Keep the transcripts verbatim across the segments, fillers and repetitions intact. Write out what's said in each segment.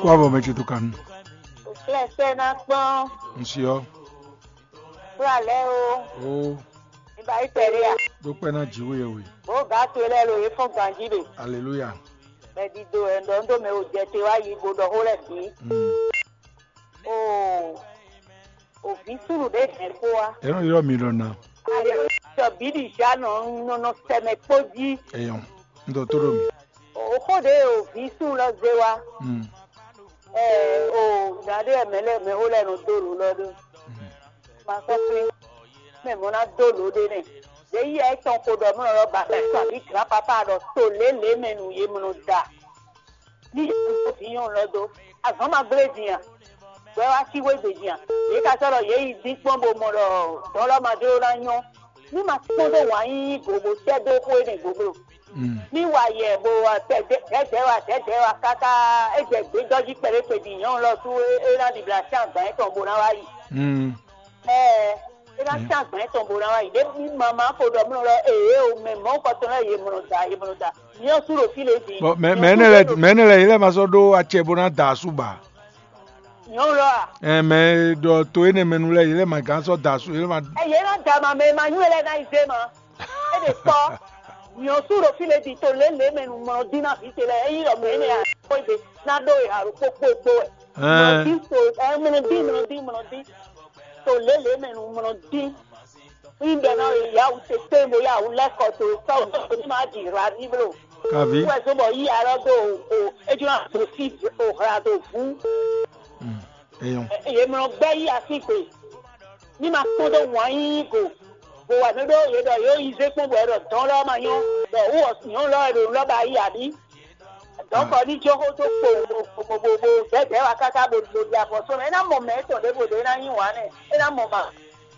Kó avɔ mɛ ce tó kanu. Flɛsɛ ná kpɔn. Ŋsi ɔ. Kúrò alẹ́ o. O. Nígbà yí pẹ̀lú yà. Ɖó kpɛ́ ná jǐ wé we. Bó gǎ to lɛ́ɛ lo yě fɔ́n ganjí ɖe. Aleluya. Bɛ́ ɖiɖo ɛ ɖɔ ŋdó mɛ o jɛ te wá yi bó ɖɔ xó lɛ́ɛ bǐ. Mm. O. Òbí súnnu ɖé hɛn kpó wá. Ɛ nɔ ylɔ́ mi ɖɔ ná. Ayɔ sɔ bǐ ɖi zǎ nɔ nɔ nɔ sɛmɛ kpó jí. Eyɔn. Ŋdɔ tó ɖo mi. Òxó ɖě e òvǐ súnnu lɔ zé wá. Mm. Ɛ o nya ɖé wɛ mɛ lɛ́ɛ mɛ xó lɛ́ɛ nɔ dó lǒ lɔ ɖó. Ma sɔ́ flín. Mɛ mɔ̌ ná dó lǒ ɖé nɛ. Ɖě yí ɛ tɔn xo ɖɔ mɔ́ lɔ ba fɛ sɔ àbí glǎpapá ɖɔ to lě lě mɛ nu yě mɔ nɔ da. Ní yě kú dó vǐ nyɔ̌nu lɔ dó. Azɔ̌ ma gblé din a? Bɔ é wá cí xwé gbe din a? Yě ka sɔ́ ɖɔ yě yi dín kpɔ́n bó mɔ ɖɔ dɔ̌n lɔ ma jló ná nyɔ́. Ní ma kpɔ́n dó wǎn yíyí go bó sɛ́ dó xó énɛ́ goglo. Mm. Ní wa yɛ bo wa dɛdɛ wa dɛdɛ wa káká é jɛ gbědɔ́ jí kpɛɖé kpɛɖi nyɔ̌nu lɔ sú é ná ɖibla sín agban yětɔn bó ná wá yi. Mm. Ɛɛ, é ná sín agban yětɔn bó ná wá yi. Ɖé bí mama ko ɖɔ mlɔ lɔ ee o mɛ mɔ̌ kɔtɔn lɛ yě mlɔ da yě mlɔ da. Nyɛ sú ɖo fí lě din. Bɔ mɛ mɛ énɛ́ lɛ mɛ énɛ́ lɛ yě lɛ ma sɔ́ ɖó acɛ bó ná da asú ba. Nyɔ̌nu lɔ a? Ɛ mɛ e ɖɔ to énɛ́ mɛ nu lɛ yě lɛ ma gán sɔ́ da asú yě lɛ ma. Ɛ yě ná da ma mɛ e ma nyú e lɛ ná yi zé ma. É ɖe kpɔ́. Nyɔ̌nu sú ɖo fí lě din to lě lě mɛ nu mlɔ dín ná vǐ ce lɛ é yí ɖɔ mɛ énɛ́ a kó é ɖe ná ɖó e alo kpókpó kpó wɛ. Ɛɛ. Mlɔ dín to ɛ mlɔ dín mlɔ dín mlɔ dín. To lě lě mɛ nu mlɔ dín. Ŋɖɛ ná yáwù tete bo yáwù lɛ́kɔ to sɔ́ ní ma ɖi hla ní bló. Kavi. Wɛ zó bɔ yí alɔ dó o ejò ná dó sí o hla dó vú. Mm. Eyɔn. Yě mlɔ gbɛ́ yí así gbe. Ní ma kpɔ́n dó wǎn yíyí go. Bó wà mí ɖó yě ɖɔ yě yi zé kpɔ́n bɔ yě ɖɔ dɔn lɔ ma nyɔ́. Ɖɔ wú ɔ nyɔ̌nu lɔ wɛ ɖo lɔ́ba yí àbí? Dɔ̌nkɔ ní jó xó dó kpo bobobobobɛ́bɛ́ wa káká bo ɖo ɖi afɔ sɔ́ mɛ. É ná mɔ mɛ étɔn ɖěvo ɖě é ná nyí wǎn nɛ. É ná mɔ ma.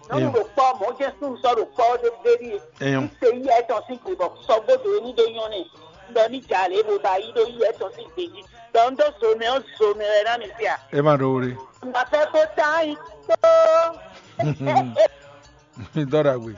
Nyɔ̌nu ɖo kpɔ́ mɔ̌ jɛ́n súnnu sɔ́ ɖo kpɔ́ ɖé ɖé ɖíe. Eyɔn. Ní se yí ɛtɔn sín gbe bɔ sɔ́ gbódò é ní ɖó nyɔ́ nɛ. Un ɖɔ ní jà lě bo ba yí ɖó yí ɛtɔn sín gbe jí. Ɖɔ un dó zo mɛ ɔ́ zo mɛ wɛ ná mi fia. É ma ɖó wlé. Un ba fẹ́ kó tá yí tó. Mi dɔ́ ɖagbe.